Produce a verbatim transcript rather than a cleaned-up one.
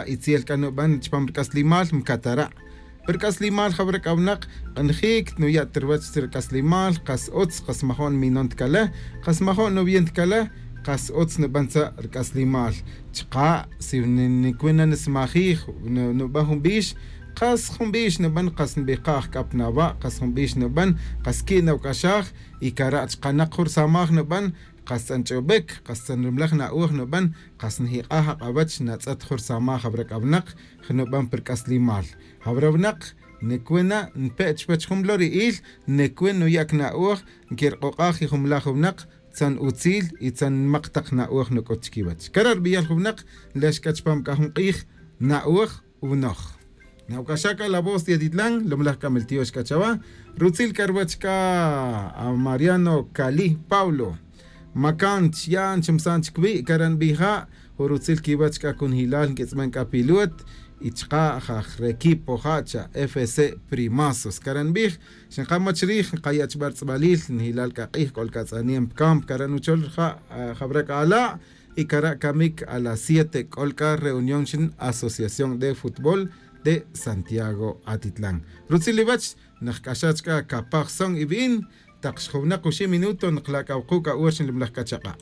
Itziel k'anub'an chpam rk'aslimal mkatara' rk'aslimal jab'rek awnaq q'njiik nuya' tirwach rk'aslimal qas utz qas majo'n minon tkale qas majo'n nub'in tkale qas utz nub'an tza rk'aslimal chqa si nikwin nismajij nub'an jun b'ix qas jun b'ix nub'an qas nb'iqa ajk'ap nawa' qas jun b'ix nub'an qas ki' nawk'axaj y kara' chqanaq jun rsamaj nub'an qas tz'anch'ob'ik qas tz'anrimlaj na'uj nub'an qas njiq'aj aq'awach natz'et jun rsamaj jab'rek awnaq nub'an pirk'aslimal jab'rewnaq nikwina npe chwach jun lori'iil nikwin nuyak na'uj nkirq'uq'aj jumlaj wnaq tzan utziil y tzan nmaq taq na'uj nuk'ut chkiwach kara rb'iyal junwnaq lex k'a chpam k'a jun q'iij na'uj unoj nawk'axaka La Voz de Atitlán lumlaj k'amil tiox k'a chawa rutzil k'arwach k'a a Mariano Cali Pablo Makanch yan chimsan chkwi karan bija jurutzil kiwach k'a kun hilal nk'itz'man k'a pilut y chqa jaj requipo jacha F C Primazos karan bij xinqamach riij nqayach b'artz'b'alil nhilal k'a q'iij k'ol k'atz'aniem camp karan uchol ja jab'rak ala y kara kamik a las siete k'olka reunión xin Asociación de Fútbol de Santiago Atitlán rutzil iwach najk'axach k'a kapaj son ib'in taq xjuwnaq oxi' minuto nqlak'awqu k'a uur xinlimlaj k'achaqa'.